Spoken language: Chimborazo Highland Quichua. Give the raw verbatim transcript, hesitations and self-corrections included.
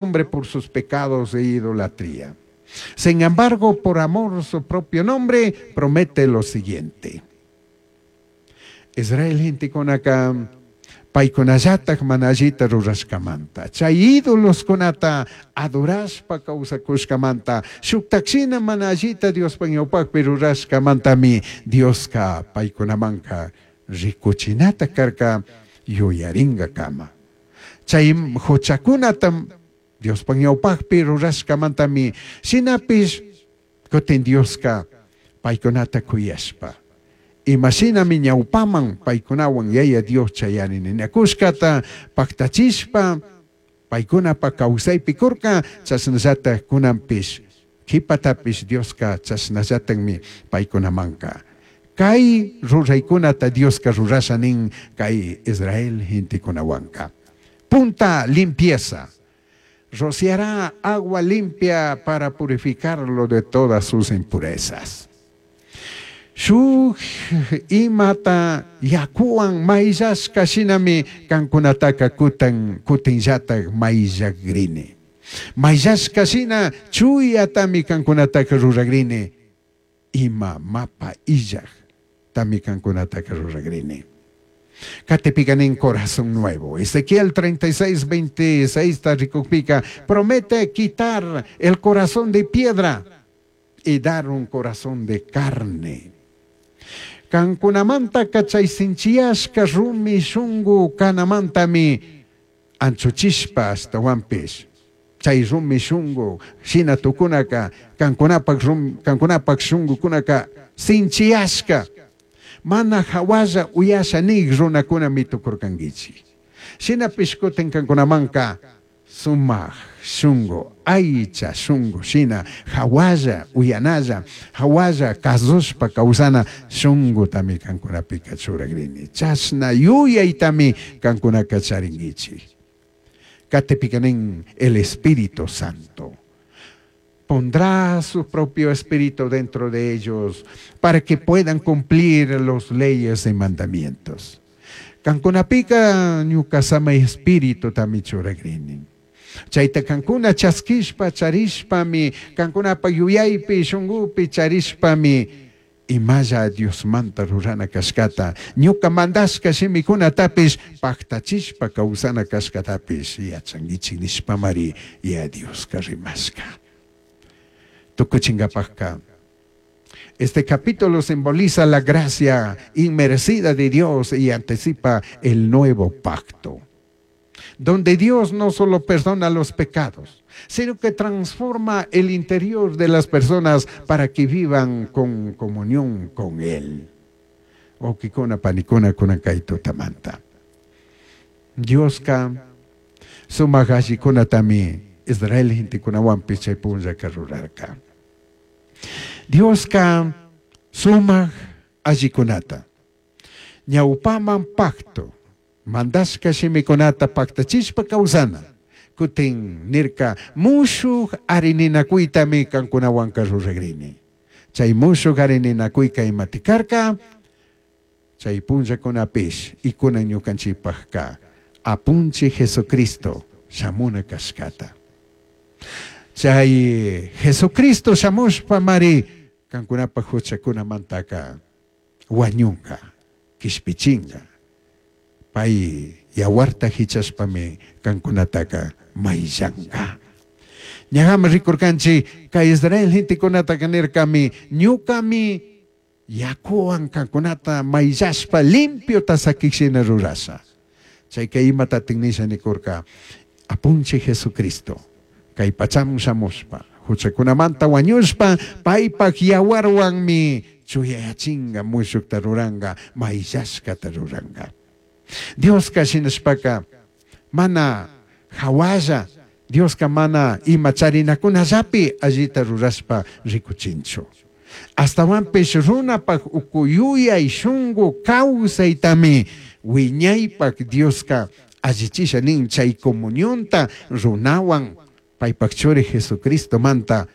Nombre por sus pecados e idolatría. Sin embargo, por amor a su propio nombre, promete lo siguiente. Israel gentecunaca paicunallataj mana allita rurashcamanta, chay ídoloscunata adorashpa kawsakushkamanta, shuktakshina mana allita Diospaj ñawpakpi rurashkamantami Dioska paicunamanka rikuchinata karka yuyaringakama. Chay huchakunata Diospaj ñawpakpi rurashkamantami shinapish kutin Dioska paykunata kuyashpa imashinami ñawpaman paykunawan Yaya Dios chayari ninakushkata paktachishpa paykunapa kawsaypi kurka, chashnallatak kunanpish kipatapish Dioska chashnallatakmi paykunamanka kay ruraykunata Dioska rurasha nin kay Israel gentekunawanka. Punta, limpieza. Rociará agua limpia para purificarlo de todas sus impurezas. Shuk imata yakuwan mayllashka shinami kankunataka kutan kutinllatak mayllakrini. Mayllashka shina chuyatami kankunataka ruragrini. Ima mapa illaj tami kankunataka ruragrini. Katipika nin corazón nuevo. Ezequiel treinta y seis, veintiséis rikukpika promete quitar el corazón de piedra y dar un corazón de carne. Kankunamanta chay sinchiyashka rumi shungu kanamantami anchuchishpa ashtawanpish chay rumi shungu shina tukunaka kankunapak rum, kankunapak shungukunaka sinchiyashka mana hawalla uyasha nig runakunami tukurkankichik. Shinapish kutin kankunamanka sumak shungu, aycha shungu shina hawalla uyanalla, hawalla kazushpa kawsana shungutami kankunapika churagrini. Chashna yuyaytami kankunaka charinkichik. Katipika nin el Espíritu Santo. Pondrá su propio espíritu dentro de ellos para que puedan cumplir los leyes y mandamientos. Kankunapika ñuka samay espíritu tami churagrini. Chayta kankuna chaskishpa charishpami, kankunapa yuyaypi shungupi charishpami imalla Diosmanta rurana kashkata, ñuka mandashka shimikunatapish paktachishpa kawsana kashkatapish yachankichik nishpamari ya Dioska rimashka. Tukuchinkapakka, este capítulo simboliza la gracia inmerecida de Dios y anticipa el nuevo pacto, donde Dios no solo perdona los pecados, sino que transforma el interior de las personas para que vivan con comunión con Él. Wawkikuna panikuna kunan kay tutamanta. Dioska sumak allikunatami Israel gentekunawanpish chay punllaka rurarka. Dioska sumak allikunata ñawpaman pacto mandashka shimikunata paktachishpa kawsana, kutin nirka mushuk arininakuytami kankunawanka ruragrini. Chay mushuk arininakuyka imati karka chay punllakunapish y kunan ñukanchikpakka apunchik Jesucristo shamuna kashkata. Chay Jesucristo shamushpa mari kankunapak huchakunamantaka wañunka, kishpichinka. Pay yawarta hichashpami kankunataka mayllanka. Ñajama rikurkanchik kay Israel gentekunataka nirkami ñukami yakuwan kankunata mayllashpa limpiota sakikshina rurasha. Chayka imatatik nisha nikurka apunchik Jesucristo kay pachaman shamushpa huchakunamanta wañushpa paypak yawarwanmi chuyayachinga, mushukta ruranka, mayllashkata ruranka. Dioska shinashpaka mana hawalla, Dioska mana ima charinakunallapi allita rurashpa rikuchinchu. Astawanpish runapak uku yuyay shungu kawsaytami wiñaypak Dioska allichisha nin chay comunionta runawan paypak churi Jesucristomanta.